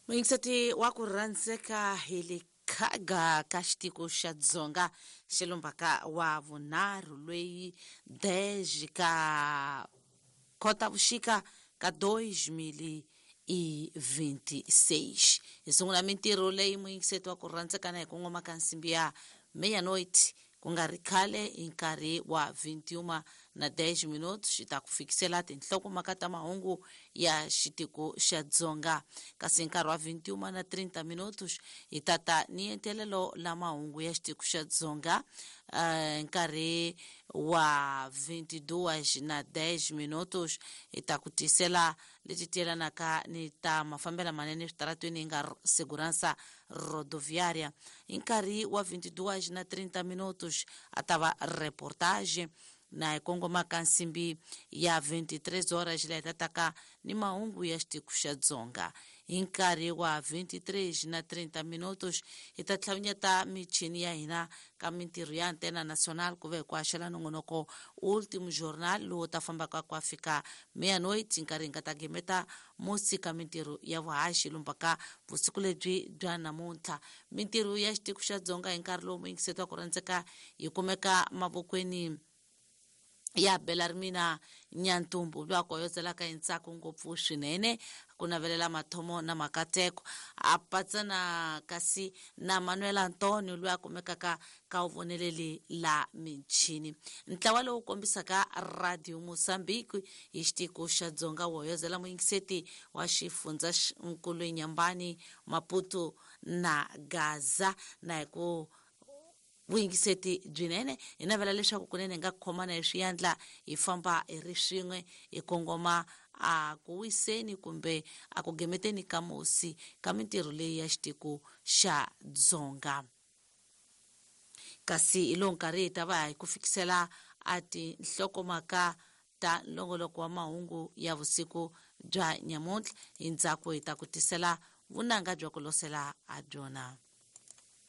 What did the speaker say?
Muyingiseti wa ku rhandzeka, hi le khaga ka xitiko xa Dzonga xilumbaka wa vunharhu lweyi 10 ka Khotavuxika ka 2026. Hi sungula mintirho leyi, muyingiseti wa ku rhandzeka, na hi kongoma ka nsimbi ya meia-noite. Ku nga ri khale, hi nkarhi wa 21 na 10 minutos, xi ta ku fikisela tinhlokomhaka ta mahungu ya xitiko xa Dzonga, kasi hi nkarhi wa 21 na 30 minutos hi tata ni entelelo la mahungu ya xitiko xa Dzonga. Nkarhi wa 22 na 10 minutos hi ta ku tisela leti tiyelanaka ni ta mafambelo manene eswitaratweni, hi nga segurança rodoviária. Hi nkarhi wa 22 na 30 minutos a ta va reportage, na hi kongoma ka nsimbi ya 23 horas, leyi tataka ni mahungu ya xitiko xa Dzonga. Hi nkarhi wa 23 na 30 minutos hi ta tlhavinyeta michini ya hina ka mintirho ya Antena Nacional, ku ve hi ku haxela nongonoko Último Jornal, lowu ta fambaka ku fika meia-noite, nkarhi hi nga ta gemeta musi ka mintirho ya vuhaxi lumbaka vusiku lebyi bya namuntlha. Mintirho ya xitiko xa Dzonga hi nkarhi lowu, muyingiseti wa ku rhandzeka, yi kumeka mavokweni ya Belarmina Nyantumbu, loyi a koyozelaka hi ntsako ngopfu swinene ku navelela mathomo na makateko, a patsana kasi na Manuel Antonio, loyi a kumekaka ka vuvoneleli la michini. Ntlawa lowu kombisaka Radio Mozambique hi xitiko xa Dzonga wo hoyozela muyingiseti wa xifundza nkulu Nyambani, Maputo na Gaza, na hi ku vuyingiseti byinene hi navela leswaku kunene hi nga khomana hi swiyandla, hi famba hi ri swin'we, hi kongoma a ku wiseni kumbe a ku gemeteni ka musi ka mintirho leyi ya xitiko xa Dzonga. Kasi hi lowu nkarhi hi ta va hi ku fikisela a tinhlokomhaka ta nlongoloko wa mahungu ya vusiku bya nyamuntlha. Hi ndzhaku hi ta ku tisela vunanga bya ku losela ha byona.